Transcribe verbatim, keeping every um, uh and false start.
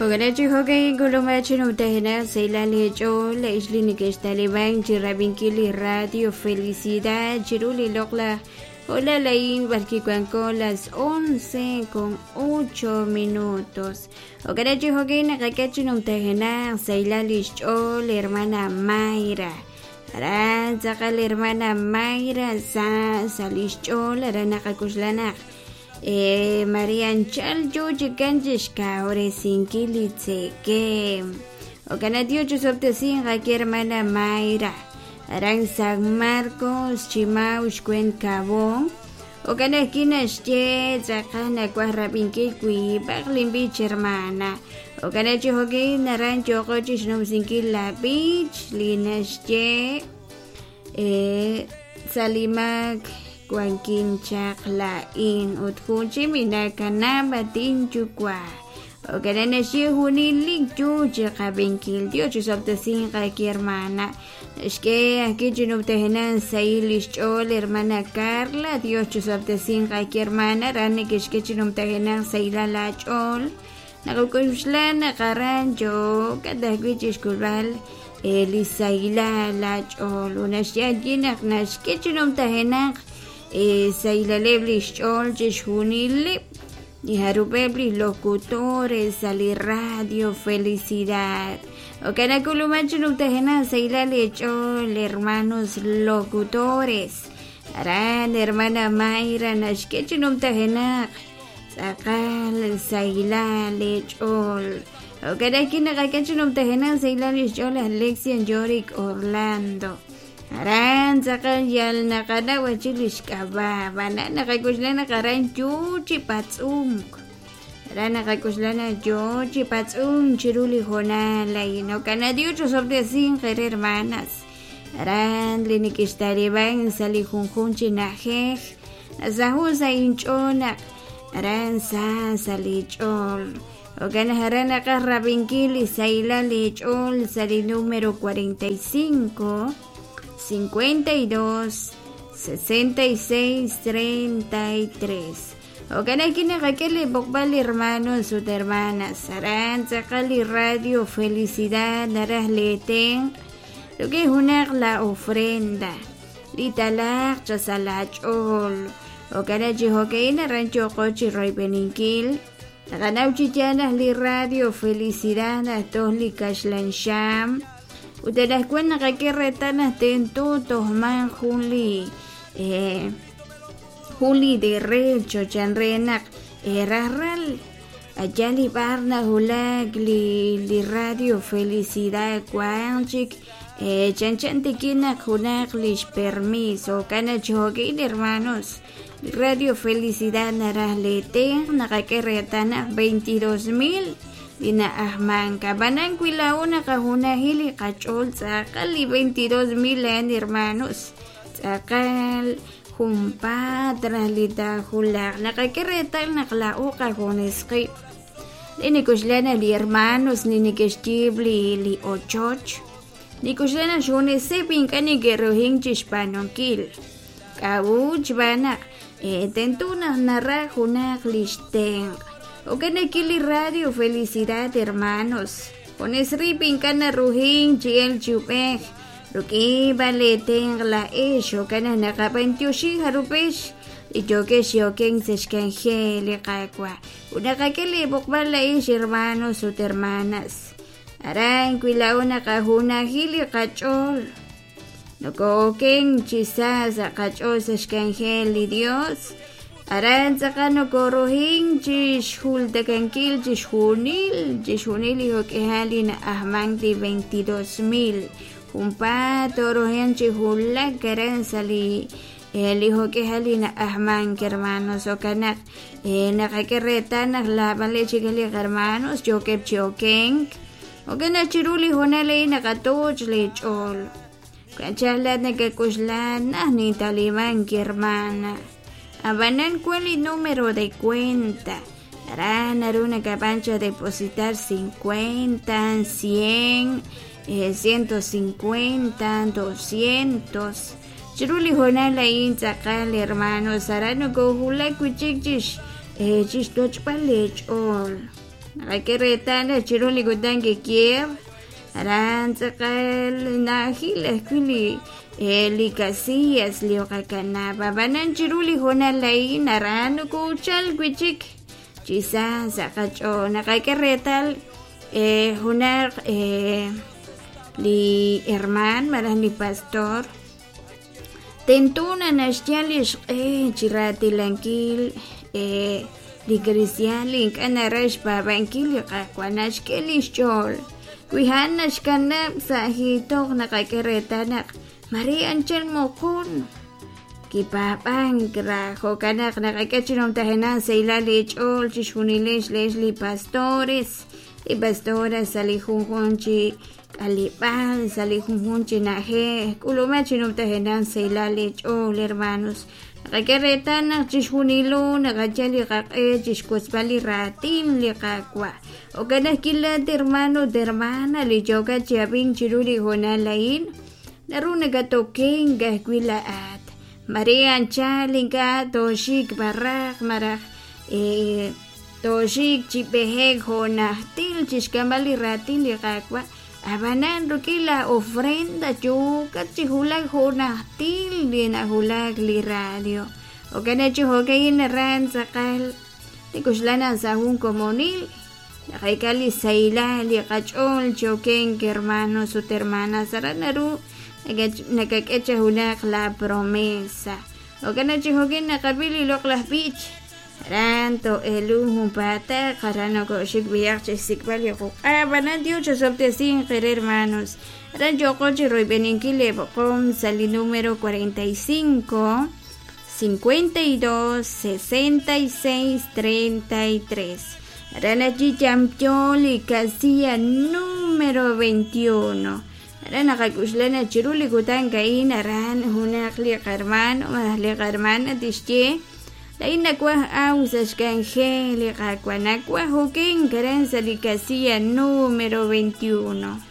Jo'kanachi jo'kay kulumachi numtajenaq saylal lech'ool ixli nikextaliban chi rab'inkil li radio Felicidad chiru li loq'laj hola laín b'arki wanko las once con ocho minutos. Jo'kanachi jo'kay naqak'e numtajenaq saylal ixch'ool hermana Mayra. Aran tz'aqal hermana Mayra sa salixch'ool aran naqakuxlanaq Eh, María Anchal yo chikan chixkawresinkil li tzekem. Jo'kan Dios chusob'tesin qaki hermana Mayra. Aran San Marcos Chimau xkwen Kabon. Jo'kan ajki naxye tz'aqal nawaj rab'inkil wiib'aq linb'ich hermana. Jo'kan chi jo'kin aran yo'qo chixnumsinkil la b'ich li naxye eh, salimak wankin chaq la'in ut jun chi minakanab' atin yuwa'. Jo'kan naxye junilik yu chi qab'inkil. Dios chusob'tesin qaki hermana. Naxk'e ajki chinub'tejenan sayil lixch'ool hermana Carla. Dios chusob'tesin qaki hermana ran nekexk'e chinub'tejenan saylal ach'ool. Naqak'uxlan naqaran yo'kat ajwi' chixk'ulb'al li saylal ach'ool. Unaxye allí naq naxk'e chinub'tejenaq saylaleb' lixch'ool chixjunileb' li jarub'eb' li locutores sa li radio Felicidad. Jo'kan nak'uluman chinub'tejenaq saylal lech'ool hermanos locutores. Aran hermana Mayra naxk'e chinub'tejenaq tz'aqal saylal lech'ool. Jo'kan ajki naqak'e chinub'tejenaq saylal lixch'ool Alexian Yorick Orlando. Aran tz'aqal yal naqanaw achi lixk'ab'a b'ana naqak'uxlan aran yu chi patz'unk. Aran naqak'uxlan yo chi patz'unk chiru li jonal ayin. Jo'kan Dios chusob'tesin qere hermanas. Aran li nikixtaliban sa li junjun chi na'jej. Nasaju sa inch'ool naq aran sa sa li ch'ool. Jo'kan aran naqaj rab'inkil li saylal li ch'ool sa li número cuarenta y cinco cincuenta y dos sesenta y seis treinta y tres. Jo'kan ajki naqak'e li b'oqb'al hermanos ut hermanas. Aran tz'aqal li radio Felicidad naraj leetenq rik'in junaq la ofrenda li talaq cha sa lach'ool. Jo'kan chi jo'ka'in aran yo'qo chi royb'eninkil. Naqanaw chi yaal naq li radio Felicidad najtoj li kaxlan xam. Ut anaqwan naqak'e reetal naq tento tojman jun li eh, jun li derecho chan re naq eh, rajral allá li b'ar najulak li li radio Felicidad wan chik eh, chan chan tikin naq junaq lix permiso. Jo'kan chi jo'kin hermanos Radio Felicidad naraj leetenq naqak'e reetal naq veintidós mil li na'ajmank. Ab'anan wi laa'o naqajunajil li qach'ool tz'aqal li veintidós mil a'an hermanos tz'aqal junpaat raj li taajulaq. Naqak'e reetal naq laa'o qajunes qib'. Li nikuxlan li hermanos li neke'xyiib' li li ochoch nikuxlan xjuneseb' ink'a' neke'rujink chixb'aanunkil. K'a'ut xb'aan naq eh, tento naq naraj junaq lix tenq'. Jo'kan ajki li radio Felicidad hermanos. Junes rib' ink'a' narujink chi el chi ub'ej rik'in b'an leetenq la'ex. Jo'kan naq naqab'antioxi jarub'ex li yo'kex yo'ken sa' xk'anjel li Qaawa'. Ut naqak'e li b'oqb'al la'ex hermanos ut hermanas. Aran wi laa'o naqajunajil li qach'ool noko'oken chi sa sa' qach'ool sa' xk'anjel li Dios. Aran tz'aqal nokorujink chixjultakankil chixjunil chixjunil li jo'k'ejal li na'ajmank li veintidós mil. Junpaat torujen chi julak aran sa li eh, li jo'k'ejal li na'ajmank hermanos. Jo'kan naq eh, naqak'e reetal naq laab'al chik li hermanos yo'keb' chi okenk. Jo'kan naq chiru li jonal a'in naqatoch li ch'ool. Kanchal nakak'uxlan naj nintalimank hermana. Ab'anan wan li número de cuenta. Aran naru nakab'an cha depositar cincuenta, cien, eh, ciento cincuenta, doscientos. Chiru li jonal a'in tz'aqal hermanos aran nokojulak wi'chik chix eh, chixtochb'al lech'ool. Naqak'e reetal chiru li kutan kikier aran tz'aqal na'ajil ajwi' li li casillas li qakanab' ab'anan chiru li hoonal a'in aran nokochal wi' chik chi sa sa' qach'ool naqak'e reetal junaq li hermaan malaj li pastor tento naq naxyal xq'e chi raatilankil li cristian li ink'a' naraj xpaab'ankil li Qaawa' naxk'e li xch'ool wi a'an naxkanab' sa' hiitoq naqak'e reetal naq mare anchal moqon kipaab'ank raj jo'kan naq naqak'e chi numtajenaq sahilal li ch'ool chixjunilex lex li pastores li pastoras sa' li junjun chi k'aleb'aal sa' li junjun chi na'ajej k'ulumaj chi numtajenaq sahilal li ch'ool hermanos naqak'e reetal naq chixjunilo naqayal li qaq'e chixwotzb'al li raatin li Qaawa' jo'kan naq kilaat hermano ut hermana li yookat chi ab'ink chiru li hoonal a'in naru nakatokenk ajwi' laa'at mare anchal ink'a' tooxik barraq malaj tooxik chi b'ejek jo' najtil chixk'amb'al li raatin li Qaawa' ab'anan rik'in la ofrenda yookat chi wulak jo' najtil li nawulak li radio jo'kan naq chi jo'ka'in aran tz'aqal nik'uxlan naq sa' jun komonil naqak'e li sahilal li qach'ool chi okenk hermanos ut hermanas aran naru nakak'e cha junaq la promesa jo'kan naq chi jo'kan naqab'i li loq'laj b'ich aran to'elun junpaataq aran nokoxik b'iyaq chixsik'b'al li quq'a ab'anan Dios chasob'tesinq qere hermanos aran yooqo chi royb'eninkil li b'oqom sa' li número cuarenta y cinco cincuenta y dos sesenta y seis treinta y tres aran allí yamyo li casilla número veintiuno aran naqak'uxlan chiru li kutan ka'in aran junaq li qarhermano malaj li qarhermana tixye lain nawaj aw sa' xk'anjel li Qaawa' nawaj okenk aran sa' li casilla número veintiuno.